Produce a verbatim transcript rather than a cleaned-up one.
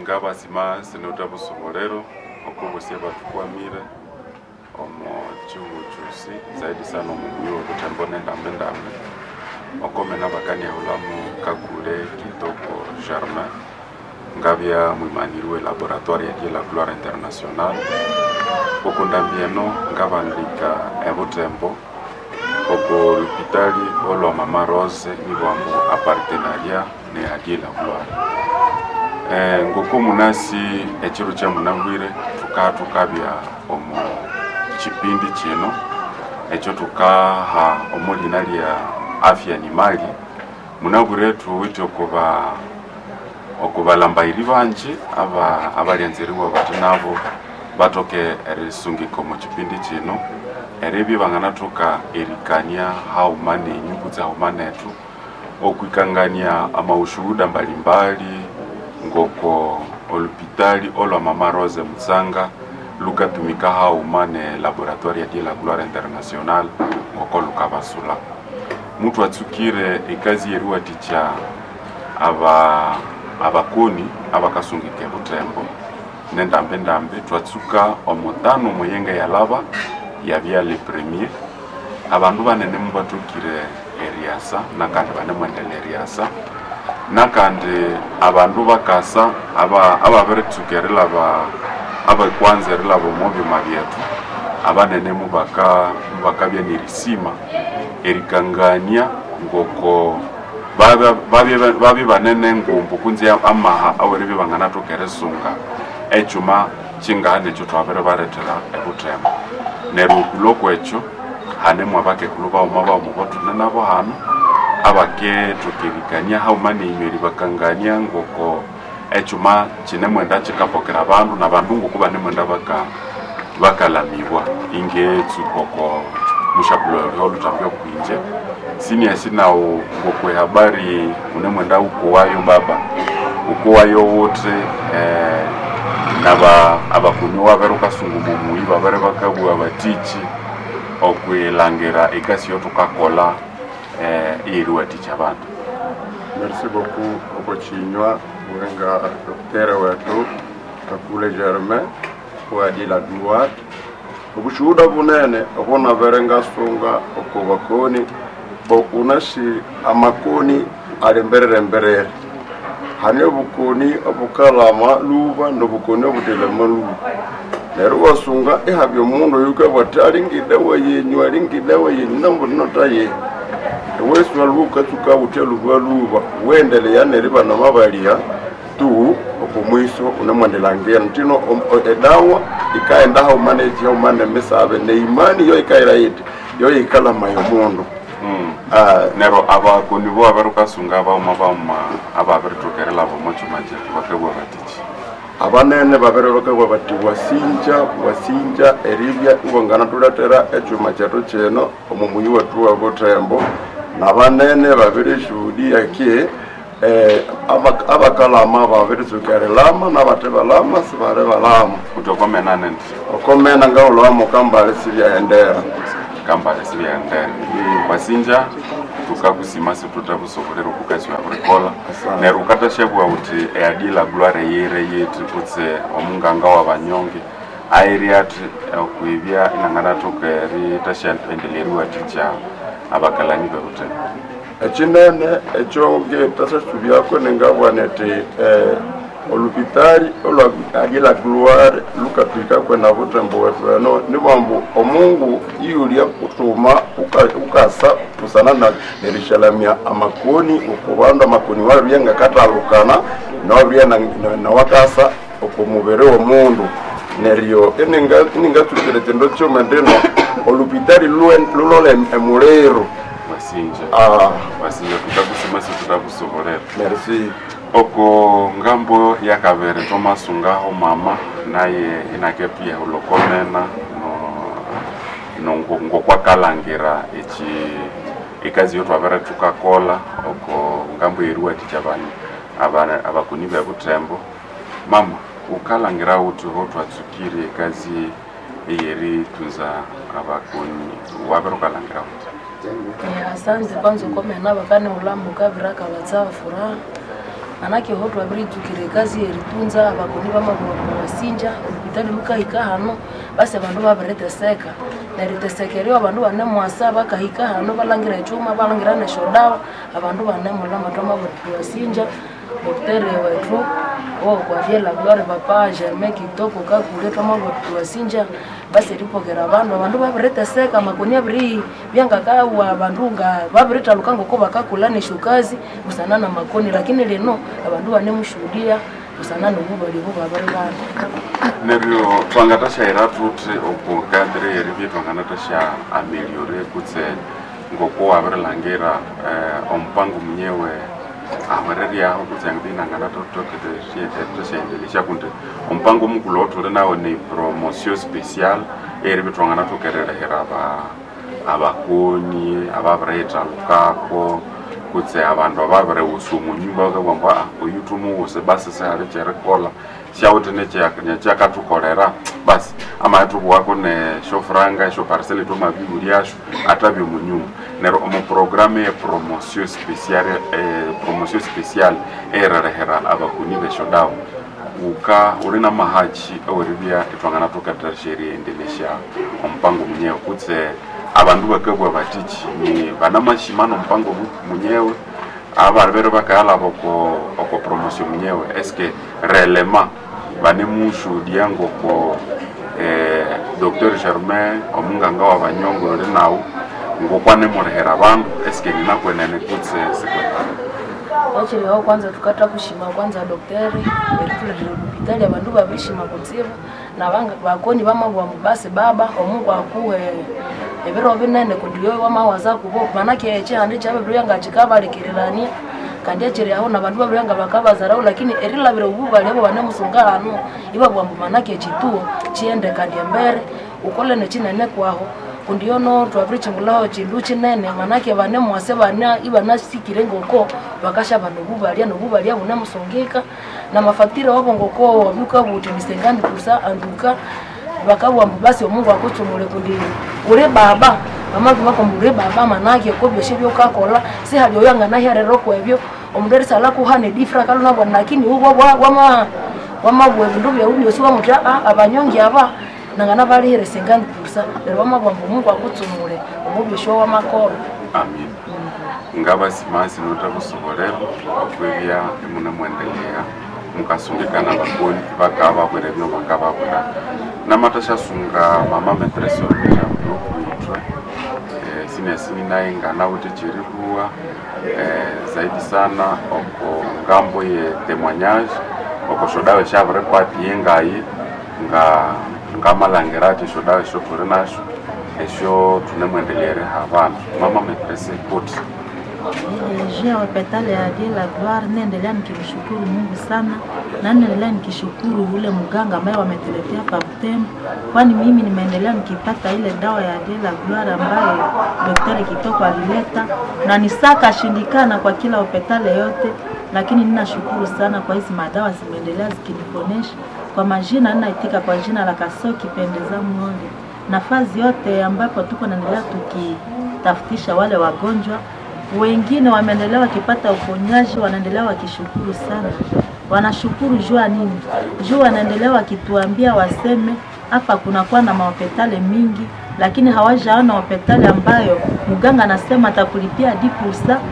Ngabasima sinota busobolero okubusia batukwamire omo chihugo chosi zaidi sana omu muyi wa Butembo nendambi ndambi okomena bakaniahulhamu Kakule Kitoko Germain ngabya mwimaniri we laboratoire ya Dieu la Gloire International. Okundambi eno ngabandika ebutembo oko lupitali olwa Mama Rose nibwambu a partenariat ne ya Dieu la Gloire. Eh, ngoko munasi ekiro kya munabwire tuka tukabya omu kipindi kino ekyo tukaha omulina lya afya ni mali. Munabwire tuwite okuba okubalambairi bangi aba abalyanziriwa bati nabo batoke erisungika omu kipindi kino eribya banganathoka erikania hauma nenyu kutse hauma nethu okwikangania amaushuhuda mbalimbali ngoko olupitali olwa Mama Rose Mutsanga lukatumika hauma ne laboratoire ya Dieu la Gloire International ngoko lukabasula. Mutu atsukire ekazi yeriwathikya aba abakoni abakasungika ebutembo nendambi ndambi twatsuka omutano muyenge yalaba yabya le premier abandu banene mubathukire eriasa nakandi banemwendela eriasa nakandi abandu bakasa aba ababiritsuka erilaba abakwanza erilaba omo byuma byethu abanene mubaka mubakabya nerisima erikangania ngoko babye banene ngumbu kunzi amaha aweribye banganathoka erisunga ekyuma kyingahana ekyo twabere barethera ebutembo. Neryo okulwa kwekyo hanemu abakekulu baghuma baghuma obothune nabo hano abakethokerikania haghuma nenywe eribakangania ngoko ekyuma kinemwenda kikapokera abandu nabandu ngoko banemwenda baka bakalamibwa ingetsuka oko mushabulo oluthambi okwinje siniasi nawu ngokwe habari unemwenda ukuwayo baba ukuwayo wuthi eh, naba abakuni wabere ukasungu mumuyi babere bakabugha batiki okwilangira ekasi yotukakola eh, iyeriwathikya abandu. Merci beaucoup okochinywa wenga docteur wetu Kakule Germain wa Dieu la Gloire. Obushuhuda bunene obunabere ngasunga okubakoni bokunasi amakoni ali mberere mberere hane obukoni obukalama luba nobukoni obutelema luba neryo wasunga ihabya omundu oyukabwa athi alingidawa yenyu alingidawa yenyu nambunota eweswa lukatsuka wutya luba luba wendeleya neriba namabalya tu okumwiso unemwendelangira ntino edawa ikaenda hauma neki hauma nemisabe neimani yo ikaira yiti yo ikalama yomundu. Mm. Ah, Neryo abakoni bo abarukasunga baghuma baghuma ababirithokerelaba omo kyuma kyethu bakabugha batiki abanene babere bakabugha bati wasinja wasinja eribya iwanganathuletera ekyuma kyethu kino omu muyi wethu wa Butembo nabanene babirishuhudia ki eh, aba- abakalama babiritsuka erilama nabathe balama sibali balama kuti okomena nendi okomena ngahulhwamu kambale sibyahendera kambale sibyahendera wasinja tukakusima situthabusobolera okukasi wabirikola neryo ukathasyabuwa wuthi eya Dieu la Gloire yire yithi kutse omunganga wabanyonge airi athi okwibya inanganathoka erithasyaendelea eriwathikya abakalani bebutembo. Ekinene ekyo ngethasyasubyako ningabugha nthi eh, olupitali olwa Dieu la Gloire lukathwikako na Butembo wethu eno nibwambu omungu iyulya kuthuma ukasa busana nerisyalamya amakoni okubandu amakoni wabirya ngakathalukana nawabirya nawakasa oku mubiri w'omundu neryo iningatsukira ekindu kyuma ndino olupitali lulole emuliro. Wasinja Ah, wasinja tukakusima situtakusobolera. Merci. Oko ngambo yakabere tomasungaho mama naye inakepia ulokomena no no ngokwakalangira echi ekazi yotwabere tukakola oko ngambo yeriwathikya abana abana abakoni bebutembo. Mama ukalangira uthi ho twatsukire ekazi eyeritunza abakoni wabere ukalangira uthi? Eh, asante kwanza ukomena bakani ulamuka biraka batsawa furaha Manake ho twabiritsukira ekazi eritunza abakoni bamabua wasinja olupitali lukahika hano, basi abandu babiriteseka neriteseka eryo abandu banemwasa bakahika hano balangira echuma, balangira nesyodawa, abandu banemulama. Twamabiri wasinja docteur wetu okwa Dieu la Gloire, Papa Germain Kitoko Kakule. Twamabiri wasinja basi eripokera abandu, abandu babiriteseka, amakoni abiri byangakawa, abandu nga babiritaluka ngoko bakakula nesyokazi busana na makoni, lakini lino abandu banemushuhudia busana nobubali obo babiri bana. Neryo twangatasyaira thuthi oku cadre yeribya twanganatasya améliorer kutse ngoko wabirilhangira eh, omupango munyewe ahwereryaho kutse inanganathothokethasyaendelesya kundi omupango mukulhu othuli nawo ni promotion spéciale eribya twanganathokererehera aba abakoni ababiriyithalukako kutse abandu ababiriwusa omunyumba, bakabugha ambu "Ah, oyu thumuwuse basi sihali kyerikolha syawithe nekyakathukolera basi amaghithubuwako nesyofuranga esyoparcelle thwamabiwulyasyo athabya omunyumba." Neryo omu programme ye promotion spéciale eh, promotion spéciale erirehera abakoni besyodawa uka uli na mahachi aweribya ithwanganathokathasya eriendelesya omupango munyewe kutse abandu bakabugha batiki ni banamashima nomupango munyewe abalibere bakayalaba oko oko promotion munyewe, eske réellement banemushuhudia ngoko eh, Docteur Germain omunganga wa banyongo uli nawu ngokwanemulehera abandu, eske ninakwenene kutse sikwenene? Ekiriho kwanza tukatha kushima kwanza docteur erithuletera olupitali. Abandu babirishima kutsibu nabanga bakoni bamabugha ambu basi baba omungu akuhe ebiro binene kundi yoyo wamawaza kubo, manake ekihanda kyababiribya nga kikabalekererania kandi ekiri aho nabandu babiribya nga bakabazaraho, lakini erilabira obubali abo banemusunga hano ibabugha ambu manake ekituo kighende kandi embere ukole nekinene kwaho kundi yono twabirikyingulhaho kindu kinene, manake banemwase bana ibanasikire ngoko bakasha nobubalya nobubalya bunemusungika namafacture wabo ngoko wabyuka buti ni cinquante pour cent anduka bakabugha ambu basi omungu akutsumule kundi uli baba bamabwira ambu uli baba, manake ko byosi byokakola sihali oyo anganaherera kwebyo omundu erisalha kuhana edifra kalunabwa, lakini ubwo wama wamabugha ebindu byawu byosi wamuthi a abanyongi aba nangana balihire cinquante pour cent, neryo bamabugha ambu omungu akutsumule omu byosi wamakolha. Amin, ngabasimasi nothabusobolera okwibya imunemwendelea mukasungikana bakoni bakababwira ebyo bakababwira namathasyasunga mama maîtresse okwithwe eh, sinesini naye nganawithe kyeribuwa eh, zaidi sana oko ngambo ye témoignage oko syodawa esyabiripati yengayi nga ngamalhangira athi esyodawa esyo thuli nasyo esyo thunemwendelea eriha abandu. Mama maîtresse kuti? Juu ya hopitali ya Dieu la Gloire, naendelea nikimshukuru Mungu sana na naendelea nikishukuru ule mganga ambaye wametuletea hapa Butembo, kwani mimi nimeendelea nikipata ile dawa ya Dieu la Gloire ambaye Daktari Kitoko alileta na nisaka shindikana kwa kila hopitali yote, lakini ninashukuru sana kwa hizi madawa zimeendelea zikiniponesha. Kwa majina ninaitika kwa jina la Kasoki Pendeza Muonde. Nafasi yote ambapo tuko naendelea tukitafutisha wale wagonjwa wengine wameendelea wakipata uponyaji, wanaendelea wakishukuru sana. Wanashukuru jua nini? Juu wanaendelea wakituambia waseme hapa kunakuwa na mahopitali mingi, lakini hawajaona hopitali ambayo mganga anasema atakulipia dix pour cent.